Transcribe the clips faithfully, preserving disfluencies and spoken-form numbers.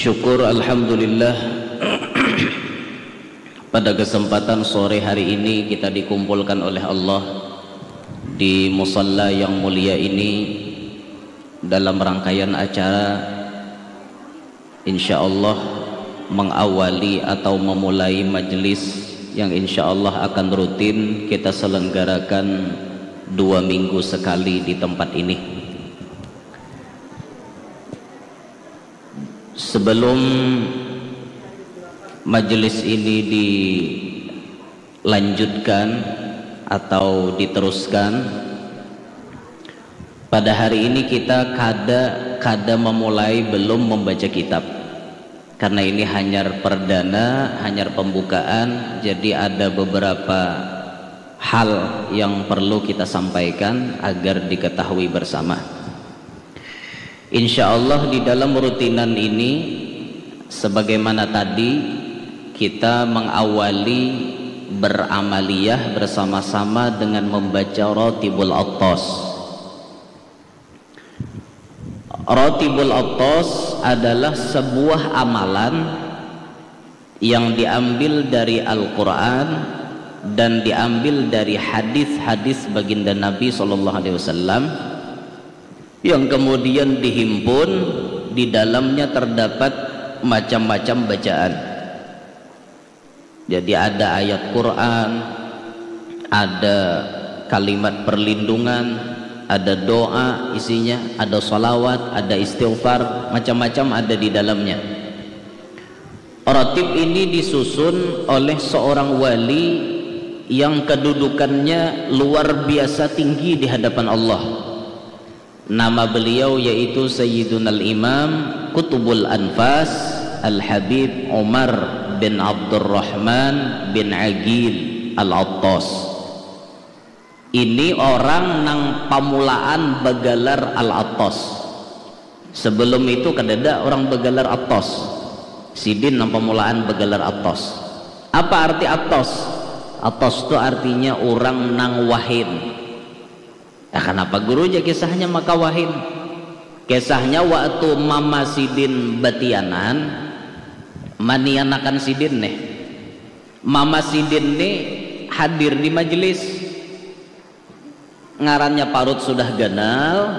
Syukur, alhamdulillah, pada kesempatan sore hari ini kita dikumpulkan oleh Allah di musalla yang mulia ini dalam rangkaian acara, insya Allah, mengawali atau memulai majelis yang insya Allah akan rutin kita selenggarakan dua minggu sekali di tempat ini. Sebelum majelis ini dilanjutkan atau diteruskan, pada hari ini kita kada kada memulai, belum membaca kitab. Karena ini hanyar perdana, hanyar pembukaan, jadi ada beberapa hal yang perlu kita sampaikan agar diketahui bersama. Insya Allah, di dalam rutinan ini, sebagaimana tadi, kita mengawali beramaliyah bersama-sama dengan membaca Ratibul Attas. Ratibul Attas adalah sebuah amalan yang diambil dari Al-Quran dan diambil dari hadis-hadis baginda Nabi Sallallahu Alaihi Wasallam, yang kemudian dihimpun, di dalamnya terdapat macam-macam bacaan. Jadi, ada ayat Quran, ada kalimat perlindungan, ada doa isinya, ada salawat, ada istighfar, macam-macam ada di dalamnya. Ratib ini disusun oleh seorang wali yang kedudukannya luar biasa tinggi di hadapan Allah. Nama beliau yaitu Sayyidunal Imam Qutbul Anfas Al-Habib Umar bin Abdurrahman bin Aqil Al-Attas. Ini orang nang pamulaan bagalar Al-Attas. Sebelum itu kadada orang bagalar Attas. Sidin nang pamulaan bagalar Attas. Apa arti Attas? Attas tu artinya orang nang wahin. Nah, kenapa guru ja kisahnya maka wahin? Kisahnya waktu mama sidin batianan, manianakan sidin nih. Mama sidin nih hadir di majelis. Ngarannya parut sudah ganal,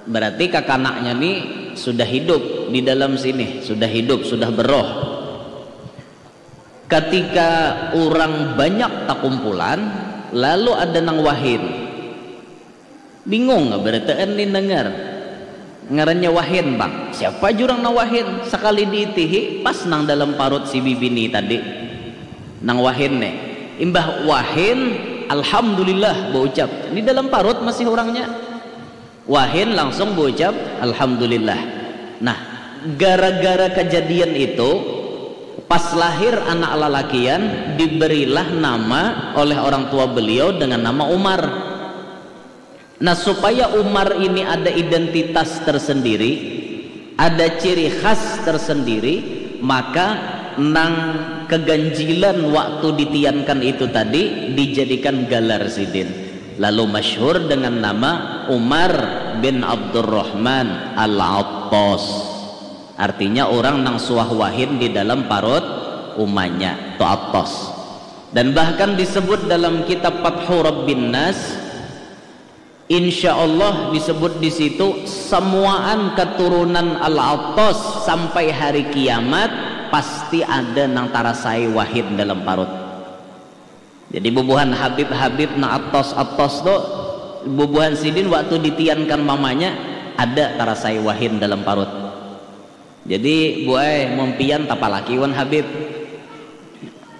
berarti kakanaknya nih sudah hidup di dalam sini, sudah hidup, sudah beroh. Ketika orang banyak takumpulan, lalu ada nang wahin. Bingung berataan nih dengar. Ngarannya wahin, Bang. Siapa jurang nang wahin? Sekali diitihi, pas nang dalam parut si bibini tadi. Nang wahin nih. Imbah wahin, alhamdulillah, baucap. Di dalam parut masih orangnya. Wahin langsung baucap, alhamdulillah. Nah, gara-gara kejadian itu, pas lahir anak lalakian, diberilah nama oleh orang tua beliau dengan nama Umar. Nah, supaya Umar ini ada identitas tersendiri, ada ciri khas tersendiri, maka nang keganjilan waktu ditiankan itu tadi dijadikan galar sidin. Lalu masyhur dengan nama Umar bin Abdurrahman Al-Attas. Artinya orang nang suah wahin di dalam parut umanya, tu Attas. Dan bahkan disebut dalam kitab Fathu Rabbin Nas, insya Allah disebut di situ, semuaan keturunan Al-Attas sampai hari kiamat pasti ada nang tarasai wahin dalam parut. Jadi bubuhan Habib-Habib nang Attas-Attas tu, bubuhan sidin waktu ditiankan mamanya ada tarasai wahin dalam parut. Jadi, Bu ai, mun pian tapalaki wan Habib.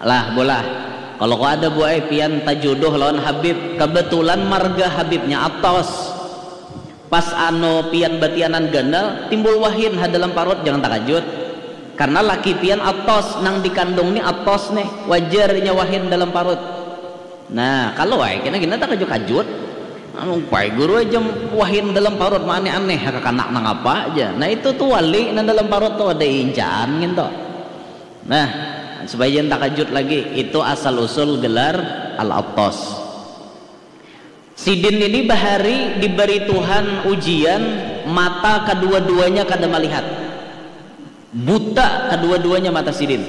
Lah, bolah. Kalau kau ada, Bu ai, pian tajodoh lawan Habib. Kebetulan marga Habibnya Attas. Pas anu pian batianan ganal, timbul wahin ha dalam parut, jangan takajut. Karena laki pian Attas, nang dikandung ni Attas nih, wajar inya wahin dalam parut. Nah, kalau ai kena gina takajut-kajut. Anu, pai guru aja wahin dalam parut, ma aneh-aneh, kakanak nang apa aja. Nah, itu tu wali nang dalam parut tu ada incaan gitu. Nah, supaya jangan takajut lagi, itu asal usul gelar Al-Attas. Sidin ini bahari diberi Tuhan ujian, mata kedua-duanya kada melihat. Buta kedua-duanya mata sidin.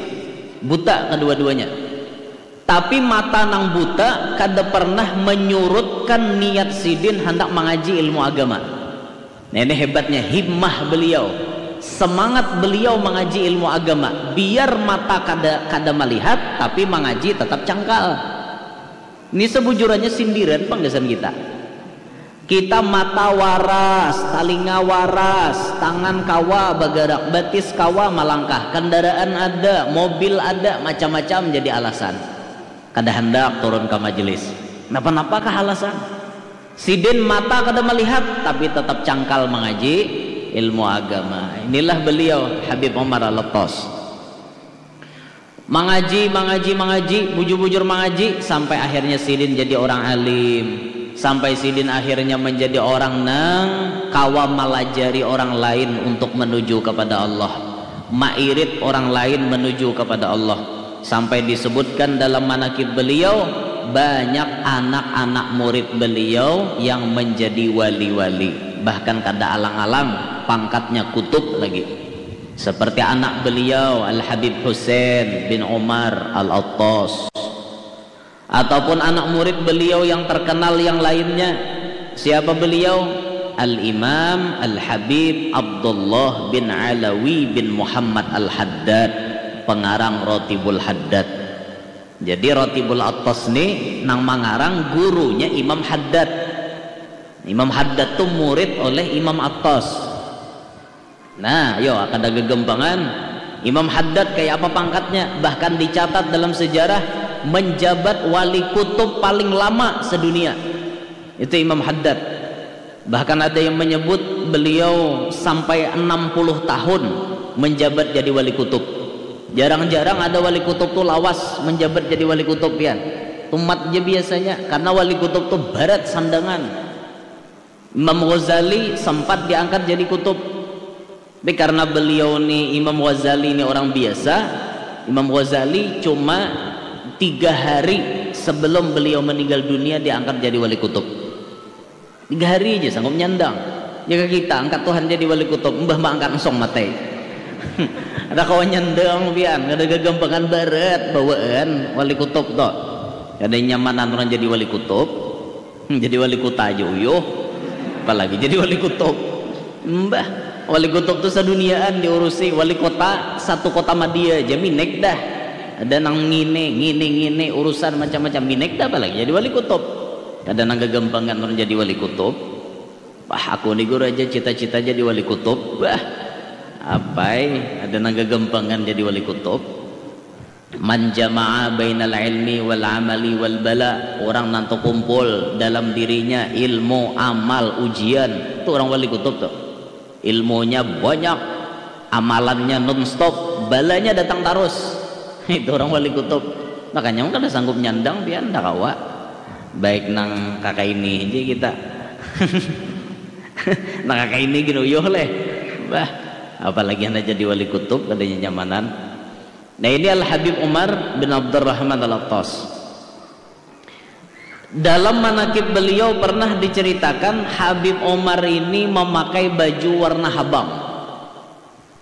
Buta kedua-duanya. Tapi mata nang buta kada pernah menyurutkan niat sidin handak mangaji ilmu agama. Nah, ini hebatnya himmah beliau. Semangat beliau mangaji ilmu agama. Biar mata kada kada melihat, tapi mangaji tetap cangkal. Ini sebujurannya sindiran pang gasan kita. Kita mata waras, talinga waras, tangan kawa bagarak, batis kawa malangkah, kendaraan ada, mobil ada, macam-macam jadi alasan. Kada handak turun ka majelis. Napa-napa kah alasan? Sidin mata kada melihat, tapi tetap cangkal mangaji ilmu agama. Inilah beliau Habib Omar Al-Attas. Mangaji, mangaji, mangaji, bujur-bujur mangaji, sampai akhirnya sidin jadi orang alim. Sampai sidin akhirnya menjadi orang nang kawa malajari orang lain untuk menuju kepada Allah. Mairit orang lain menuju kepada Allah. Sampai disebutkan dalam manakib beliau, banyak anak-anak murid beliau yang menjadi wali-wali. Bahkan kada alang-alang, pangkatnya kutub lagi. Seperti anak beliau Al-Habib Husain bin Umar Al-Attas. Ataupun anak murid beliau yang terkenal yang lainnya. Siapa beliau? Al-Imam Al-Habib Abdullah bin Alawi bin Muhammad Al-Haddad, pengarang Rotibul Haddad. Jadi Rotibul Attas ni nang mangarang gurunya Imam Haddad. Imam Haddad tu murid oleh Imam Attas. Nah, yo, kada gagampangan. Imam Haddad kayak apa pangkatnya? Bahkan dicatat dalam sejarah menjabat wali kutub paling lama sedunia. Itu Imam Haddad. Bahkan ada yang menyebut beliau sampai enam puluh tahun menjabat jadi wali kutub. Jarang-jarang ada wali kutub tu lawas menjabat jadi wali kutub, pian. Tumat aja biasanya, karena wali kutub tu barat sandangan. Imam Ghazali sempat diangkat jadi kutub. Tapi karena beliau ni, Imam Ghazali ni orang biasa, Imam Ghazali cuma tiga hari sebelum beliau meninggal dunia diangkat jadi wali kutub. Tiga hari aja sanggup nyandang. Jika kita angkat Tuhan jadi wali kutub, mbah mah angkat ensong matai. Ada kawan nyandang pian, kada gagampangan barat bawaan wali kutub tuh. Kada nyamanan orang jadi wali kutub. Hmm, jadi wali kota aja uyuh. Apalagi jadi wali kutub. Mbah, wali kutub tuh saduniaan diurusi. Wali kota satu kota madia aja minek dah. Ada nang ngini, ngini, ngini, urusan macam-macam minek dah, apalagi jadi wali kutub. Kada nang gagampangan orang jadi wali kutub. Wah, aku ni guru aja cita-cita jadi wali kutub. Wah, apai, ada nang gagampangan jadi wali kutub. Man jama'a bainal ilmi wal amali wal bala. Orang nantu kumpul dalam dirinya ilmu, amal, ujian. Itu orang wali kutub tuh. Ilmunya banyak, amalannya non-stop, balanya datang terus. Itu orang wali kutub. Makanya orang kada sanggup nyandang pian, ndak kawa. Baik nang kakak ini aja kita. Nang kakak ini gini uyuh leh. Bah, apalagi anak jadi wali kutub, kada nyamanan. Nah, ini Al-Habib Umar bin Abdurrahman Al-Attas. Dalam manakib beliau pernah diceritakan Habib Umar ini memakai baju warna habang.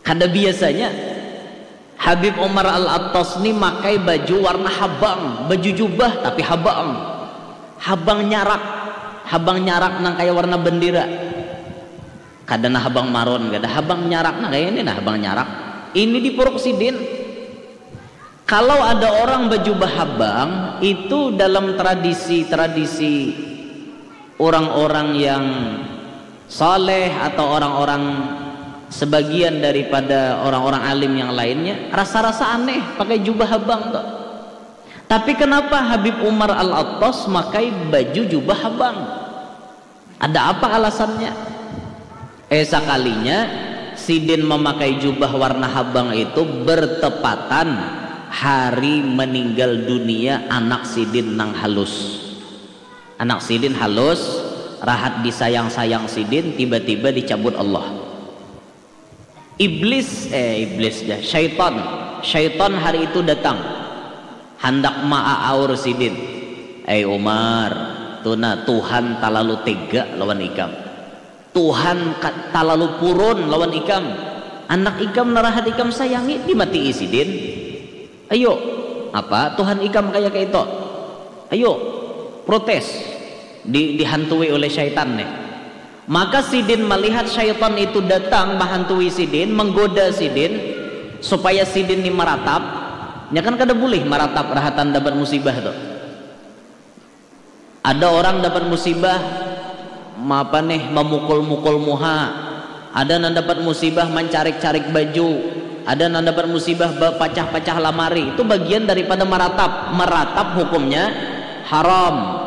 Kada biasanya Habib Umar Al-Attas ni makai baju warna habang, baju jubah tapi habang. Habang nyarak, habang nyarak nang kayak warna bendera. Kada nah habang maron, kada, habang nyarak nah kayak ini nah habang nyarak. Ini di Puruk Sidin. Kalau ada orang bajubah habang, itu dalam tradisi-tradisi orang-orang yang saleh atau orang-orang sebagian daripada orang-orang alim yang lainnya, rasa-rasa aneh pakai jubah habang tuh. Tapi kenapa Habib Umar Al-Attas makai baju jubah habang? Ada apa alasannya? Eh, sakalinya sidin memakai jubah warna habang itu bertepatan hari meninggal dunia anak sidin nang halus. Anak sidin halus, rahat disayang-sayang sidin, tiba-tiba dicabut Allah. Iblis, eh, iblis dah, syaitan. Syaitan hari itu datang. Handak maaaur sidin. Eh, Umar, tuna, Tuhan talalu tega lawan ikam. Tuhan ka-, talalu purun lawan ikam. Anak ikam narahat ikam sayangi, dimatii sidin. Ayo, apa Tuhan ikam kaya kaito? Ayo, protes. Di, dihantui oleh syaitan nih. Maka sidin malihat syaitan itu datang mahantui sidin, menggoda sidin, supaya sidin ni maratap. Nya kan kada bulih maratap rahatan dapat musibah tu. Ada orang dapat musibah, apa nih, mamukul-mukul muha. Ada nang dapat musibah mancarik-carik baju. Ada nang dapat musibah bapacah-pacah lamari. Itu bagian daripada maratap. Maratap hukumnya haram.